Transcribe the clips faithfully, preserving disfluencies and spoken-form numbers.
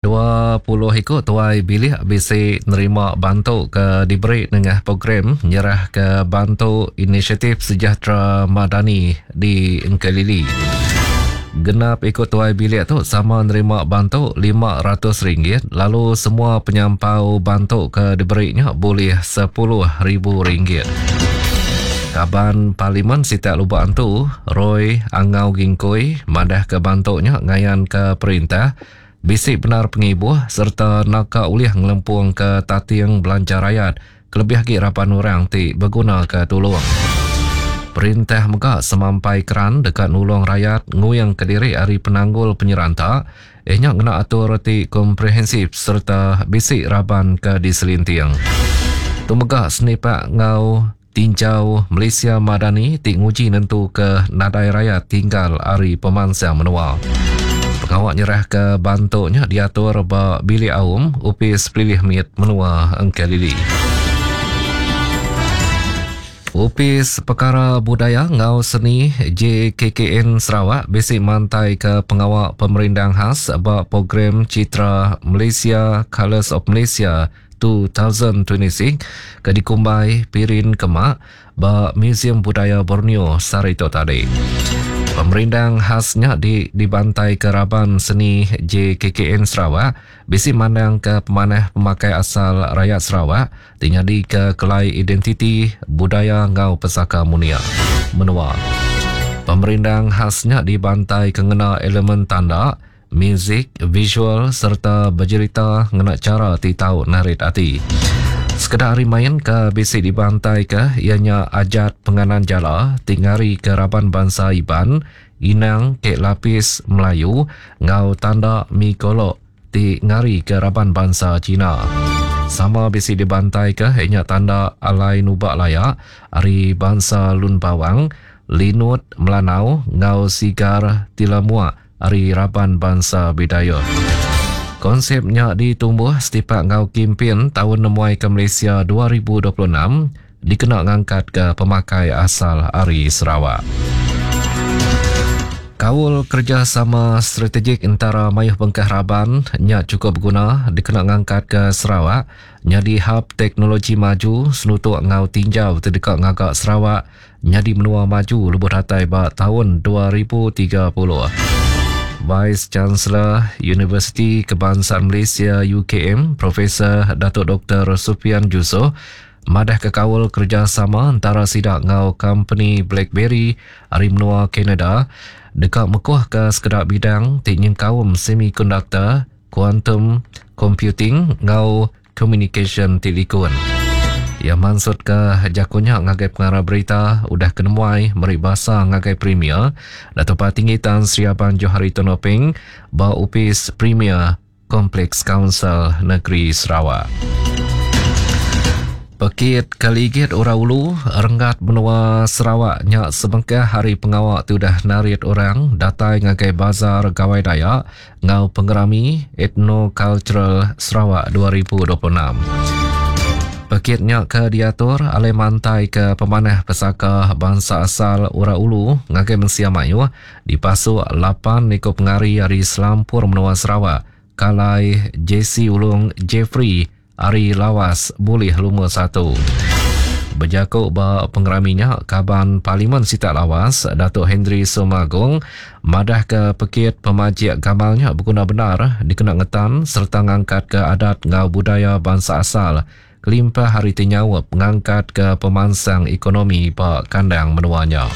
Dua puluh iku tuai bilik bisi nerima bantu ke diberi nengah program nyerah ke bantu inisiatif Sejahtera Madani di Engkelili. Genap ikut tuai bilik tu sama nerima bantu lima ratus ringgit lalu semua penyampau bantu ke diberinya boleh sepuluh ribu ringgit. Kaban Parlimen Sitak Lubok Antu, Roy Angau Gingkoi, madah ke bantunya ngayan ke perintah bisi benar pengibuh serta naka ulih ngelempung ke tating belanja rakyat kelebih lagi raban orang ti berguna ke tulung. Perintah mega semampai keran dekat nulung rakyat nguyang ke diri hari penanggul penyeranta ianya ngena atur ti komprehensif serta bisi raban ke diselinting. Tu mega senipak ngau tinjau Malaysia Madani ti nguji nentu ke nadai rakyat tinggal hari pemansang menua. Pengawak nyerah ke bantunya diatur ba bilik aum Upis Pelilih Mit Menua Engkelili. Upis Perkara Budaya Ngau Seni J K K N Sarawak bisi mantai ke pengawak pemerindang khas ba program Citra Malaysia Colours of Malaysia dua ribu dua puluh enam ke dikumbai Pirin Kemak ba Museum Budaya Borneo sehari itu tadi. Pemerindang khasnya di, dibantai ke raban seni J K K N Sarawak bisi mandang ke pemanah pemakai asal rakyat Sarawak tinggal ke kelai identiti budaya ngau pesaka munia menua. Pemerindang khasnya dibantai ke ngena elemen tanda, muzik, visual serta bercerita ngena cara ti tau narit ati. Sekedar hari main ke bisi dibantai ke ianya ajat penganan jala tingari ke raban bangsa Iban, inang kek lapis Melayu ngau tanda mikolok ti ngari ke raban bangsa Cina. Sama bisi dibantai ke ianya tanda alai nubak layak hari bangsa Lun Bawang, Linut Melanau ngau Sigar Tilamuak hari raban bangsa Bidayuh. Konsepnya ditumbuh setipak ngau kimpin tahun nemuai ke Malaysia dua ribu dua puluh enam dikena ngangkat ke pemakai asal ari Sarawak. Kaul kerjasama strategik antara mayuh bengkah raban nya cukup berguna dikena ngangkat ke Sarawak nyadi hub teknologi maju senutuk ngau tinjau terdekat ngagak Sarawak nyadi menua maju lebuh datai ba tahun dua ribu tiga puluh. Vice Chancellor Universiti Kebangsaan Malaysia U K M Profesor Datuk Doktor Sufian Jusoh madah ke kaul kerjasama antara sidak ngau company BlackBerry ari menua Kanada dekat mekuh ke sekedak bidang ti nyengkaum semiconductor, quantum computing ngau communication ti likun. Ia maksud ke jakunya ngagai pengarah berita udah kenemuai meri basa ngagai Premier Datuk Patinggi Tan Sri Abang Johari Tun Openg ba Upis Premier Kompleks Kaunsil Negeri Sarawak. Pekit Kaligit Orang Ulu Renggat Menua Sarawak nya sebengkah hari pengawak tu dah narit orang datai ngagai Bazar Gawai Dayak ngau pengerami Ethno-Cultural Sarawak dua ribu dua puluh enam. Pekitnya ke diatur alai mantai ke pemanah pesaka bangsa asal Orang Ulu ngagai mensia mayuh dipasuk lapan ikut pengari ari Selampur Menua Sarawak kalai J C Ulung Jeffrey ari Lawas boleh lumur satu. Berjakuk ba pengeraminya Kaban Parlimen Sitak Lawas Datuk Henry Sumagong madah ke pekit pemajik gamalnya berguna benar dikena ngetan serta ngangkat ke adat ngau budaya bangsa asal kelimpah hari tinyawap ngangkat ke pemansang ekonomi ba kandang menuanya.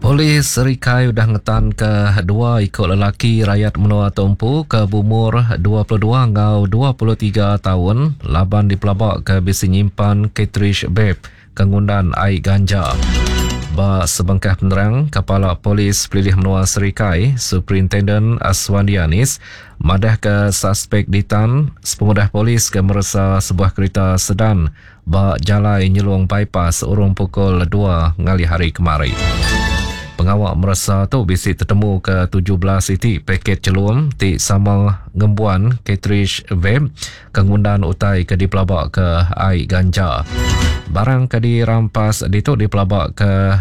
Polis Serikai udah ngetan ke dua ikut lelaki rakyat menua Tumpu ke bumur dua puluh dua ngau dua puluh tiga tahun laban dipelabak ke bisi nyimpan cartridge vape ke ngundan air ganja. Ba sebengkah penerang, Kepala Polis Pelilih Menua Serikai, Superintendent Aswandi Anis, madah ke suspek ditan sepengudah polis ke meresa sebuah kereta sedan ba Jalai Nyelong Bypass urung pukul dua ngalih hari kemari. Pengawak meresa tu bisi tertemu ke tujuh belas itik paket celum ti sama ngembuan cartridge vape ke ngundan utai ke dipelabak ke air ganja. Barang ke dirampas ditu dipelaba ke